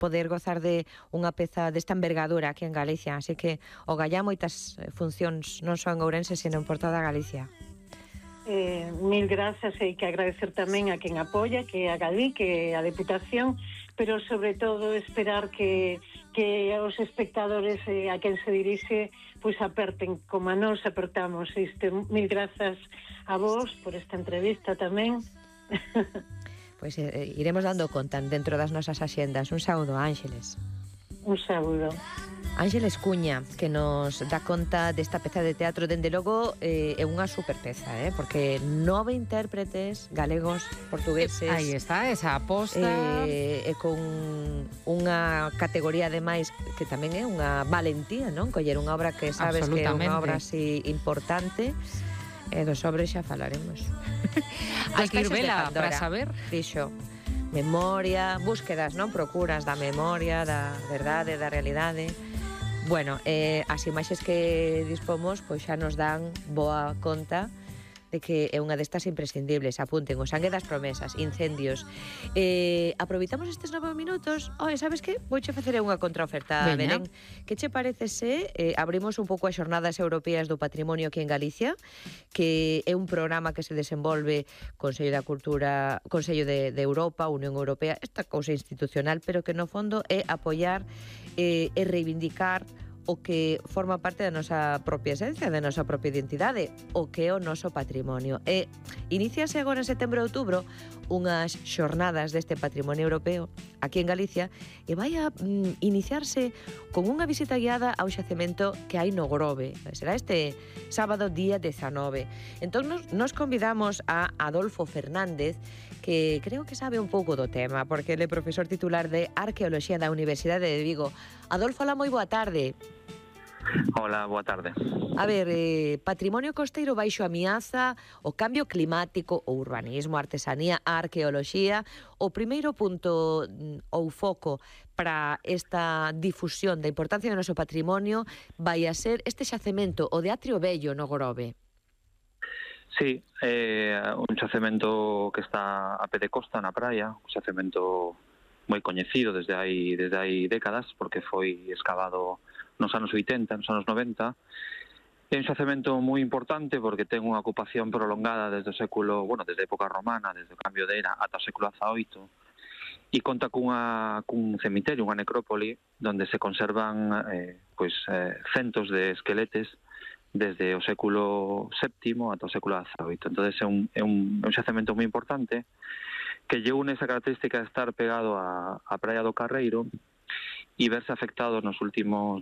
poder gozar de unha peza desta envergadura aquí en Galicia, así que o Gallá moitas funcións non só en Ourense, sino en por toda Galicia. Mil grazas, e que agradecer tamén a quen apoia, que é a Galí, que é a Deputación, pero sobre todo esperar que os espectadores a quen se dirixe pois aperten como a nós apertamos isto. Mil grazas a vos por esta entrevista tamén. Pois iremos dando conta dentro das nosas axendas. Un saúdo, Ángeles. Un saúdo. Ángeles Cuña, que nos dá conta desta peza de teatro. Dende logo é unha super peza, porque 9 intérpretes galegos, portugueses. Aí está, esa aposta. E con unha categoría ademais que tamén é unha valentía, non? Coller unha obra que sabes que é unha obra así importante. E dos sobres xa falaremos. Hai que ir vela para saber. Fixo. Memoria, búsquedas, non? Procuras da memoria, da verdade, da realidade. Bueno, as imaxes que dispomos pois xa nos dan boa conta de que é unha destas imprescindibles. Apunten, o sangue das promesas, incendios. Aproveitamos estes 9 minutos. Sabes que? Vouche facer unha contraoferta, Belén. Que che parece se abrimos un pouco as xornadas europeas do patrimonio aquí en Galicia, que é un programa que se desenvolve Consello da Cultura, Consello de Europa, Unión Europea, esta cousa institucional, pero que no fondo é apoiar e reivindicar o que forma parte da nosa propia esencia, da nosa propia identidade, o que é o noso patrimonio. Iníciase agora en setembro e outubro unhas xornadas deste patrimonio europeo aquí en Galicia e vai a iniciarse con unha visita guiada ao xacemento que hai no Grove. Será este sábado día 19. Entón nos convidamos a Adolfo Fernández, que creo que sabe un pouco do tema, porque ele é profesor titular de Arqueoloxía da Universidade de Vigo. Adolfo, hola, moi boa tarde. Hola, boa tarde. A ver, patrimonio costeiro baixo ameaza, o cambio climático, o urbanismo, a artesanía, a arqueoloxía. O primeiro punto ou foco para esta difusión da importancia do noso patrimonio vai a ser este xacemento, o de Atrio Vello no Grove. Sí, un xacemento que está a pé de costa na praia, un xacemento moi coñecido desde hai décadas, porque foi excavado nos anos 80, nos anos 90. É un xacemento moi importante porque ten unha ocupación prolongada desde o século, desde a época romana, desde o cambio de era ata o século XVIII, e conta cun cemiterio, unha necrópoli, onde se conservan centos de esqueletes desde o século VII ata o século XVIII. Entón é un xacemento moi importante que lle une esa característica de estar pegado á praia do Carreiro e verse afectado nos últimos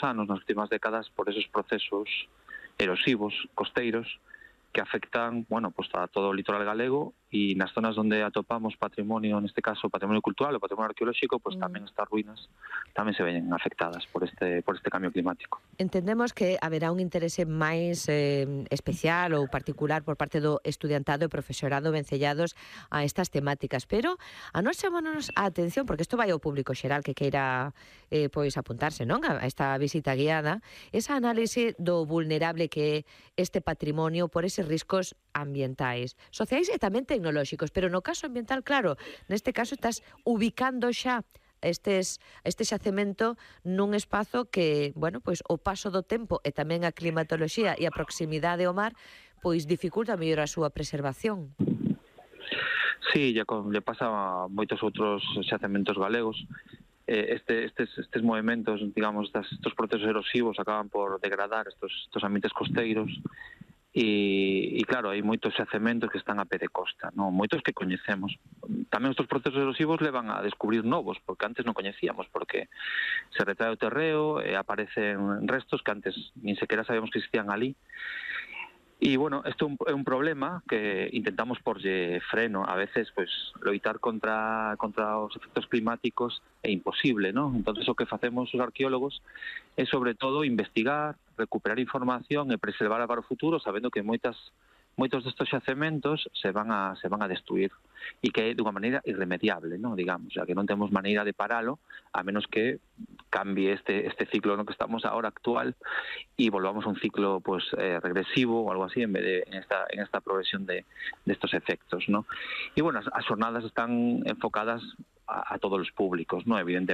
anos, nas últimas décadas, por esos procesos erosivos costeiros que afectan, a todo o litoral galego, e nas zonas onde atopamos patrimonio, neste caso patrimonio cultural ou patrimonio arqueolóxico, tamén estas ruínas tamén se ven afectadas por este cambio climático. Entendemos que haberá un interese máis especial ou particular por parte do estudiantado e profesorado vencellados a estas temáticas, pero a nós chamámonos a atención, porque isto vai ao público xeral que queira apuntarse, non, a esta visita guiada, esa análise do vulnerable que é este patrimonio por eses riscos ambientais, sociais e tamén tecnolóxicos, pero no caso ambiental, claro, neste caso estás ubicando xa este xacemento nun espazo que, o paso do tempo e tamén a climatoloxía e a proximidade ao mar, dificulta mellor a súa preservación. Sí, lle pasa a moitos outros xacementos galegos. Estes movimentos, digamos, estos procesos erosivos acaban por degradar estos ambientes costeiros. E claro, hai moitos xacementos que están a pé de costa, moitos que coñecemos. Tamén estes procesos erosivos levan a descubrir novos, porque antes non coñecíamos, porque se retrae o terreo e aparecen restos que antes nin sequera sabíamos que existían ali. E, isto é un problema que intentamos porlle freno. A veces, loitar contra os efectos climáticos é imposible, non? Entón, o que facemos os arqueólogos é, sobre todo, investigar, recuperar información e preservar para o futuro, sabendo que moitos destes xacementos se van a destruir e que é dunha maneira irremediable, non, digamos, xa que non temos maneira de paralo, a menos que cambie este ciclo no que estamos ahora actual e volvamos a un ciclo regresivo ou algo así, en vez de en esta progresión de estos efectos, ¿no? E as jornadas están enfocadas a todos los públicos, ¿no? Evidentemente